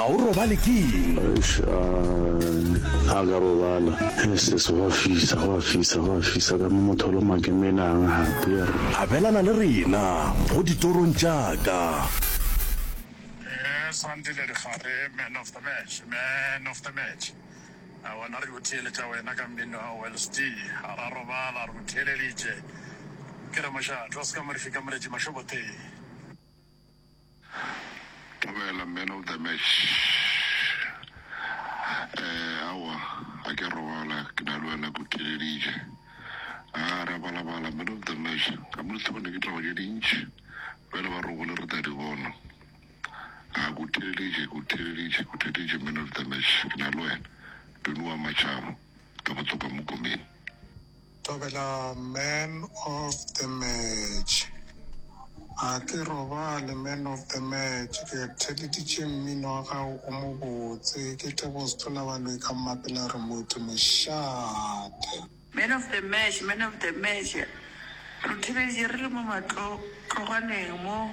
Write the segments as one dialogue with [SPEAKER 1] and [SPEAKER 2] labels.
[SPEAKER 1] Ga o robale ke eng?
[SPEAKER 2] Eish, a ka robala. Sis, go a fisa, go a fisa, go a fisa ka mo motho o loma ke menang gape. Yerr.
[SPEAKER 1] Abelana le rena go ditorong tša ka.
[SPEAKER 3] Yes, Andile Dikgare, man of the match, man of the match. A wena re o theeletša wena ka mmino wa Wells D. A ra robala, re o theeleditše. Ke re mošate wa seka Morifi ka Moletši Mašobothe.
[SPEAKER 4] Thobela man of the match. Eh, aowa, ga ke robala, ke na le wena ke o theeleditše. A ra balabala man of the match. Ka mo lethobane ke tlogo tše dintši. Bjale ba rogole re tla di bona. A ke o theeleditše, ke o theeleditše, ke o theeleditše man of the match. Ke na le wena. Tony wa Matšhaba, ka Botsoka Mokomeng.
[SPEAKER 5] Thobela man of the match. Ga ke robale man of the match ke theleditše mmino wa gago o mobotse ke Tebogo Sethola Baloi ka Mmapela Remote mošate.
[SPEAKER 6] Man of the match, man of the match, re theleditše re le mo matlotlogwaneng mo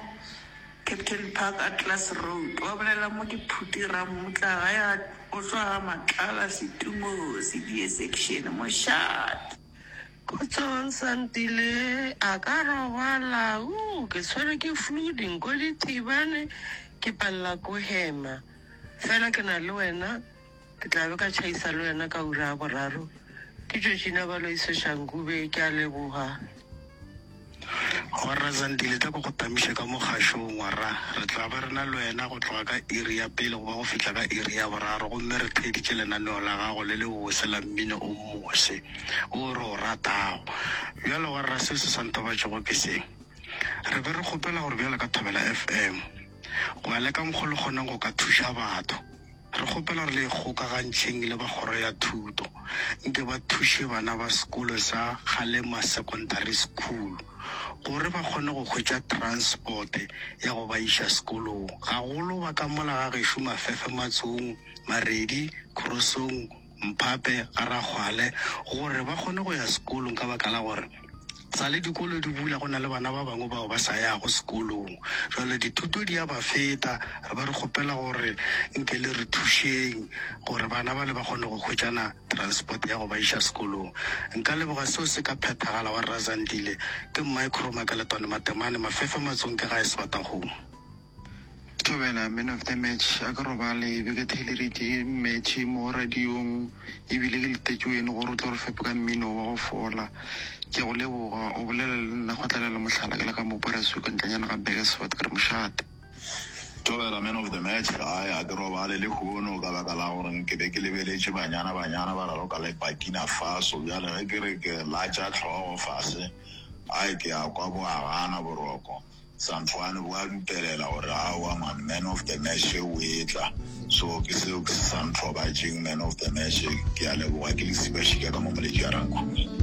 [SPEAKER 6] Captain Park Atlas Road. Wa bolela mo ke Phuti Rammutla gae ga o tšwa ga Matlala Setumo Sedie Section mošate.
[SPEAKER 7] Khotsong Santile a ka robala ooh ke tshwerwe ke flu dinko di thibane ke palela ko hema fela ke na le wena Ke tla be ka tšhaisa le wena ka ura ya boraro. Ke Georgina Baloyi Soshanguve, ke a leboga.
[SPEAKER 8] Warra Zandile, tla ko go tamiše ka mo kgašong, warra. Re tla ba re na le wena go tloga ka iri ya pele go ba go fihla ka iri ya boraro, gomme re theeditše lenaneo la gago le lebose la mmino o mose wo re o ratago. Bjale, warra, seo se sa ntobatšego ke se. Re be re kgopela gore bjalo ka Thobela FM, go ya le ka mokgo le kgonang go ka thuša batho, Re kgopela gore le ikgokagantšheng le ba kgoro ya thuto nke ba thuše bana ba sekolo sa Kgalema Secondary School gore ba kgone go hwetša transport ya go ba iša sekolong, gagolo ba ka mola ga gešo Mafefe Matsong, Maredi, Krosong, Mphape, ga Rakgwale gore ba kgone go ya sekolong ka baka la gore sa le dikolo di bula go na le bana ba bangwe bao ba sa yago sekolong. Jwale dithuto di a ba feta, re ba re kgopela gore nke le re thušeng gore bana bale ba kgone go hwetšana transport ya go ba iša sekolong. Nka leboga seo se ka phethagala wa Rra Zandile. Ke Micro Makeletwane Matemane, Mafefe Matsong ke gae Sebatakgomo.
[SPEAKER 9] Thobela man of the match a ke robale be ke theeleditše match mo radiong ebile ke letetše wene gore o tlo re fepe ka mmino wa go fola ke go leboga o bolela le nna Kgotlelelo Mohlala ke le ka mo Parasuka ntlenyana ga Burgersfort ke re mošate.
[SPEAKER 10] Thobela man of the match ai a ke robale lehono ka baka la gore ke be ke lebeletše Banyana Banyana ba raloka le Burkina Faso bjale ge ke re ke latša hlogo fase ai ke a kwa bo a gana boroko. Santhwane bo a dupelela gore aowa man man of the match o etla so ke seo ke se sa nthobatšeng man of the match ke a leboga ke Lesiba Šika ka mo Moletši ya Rankhune.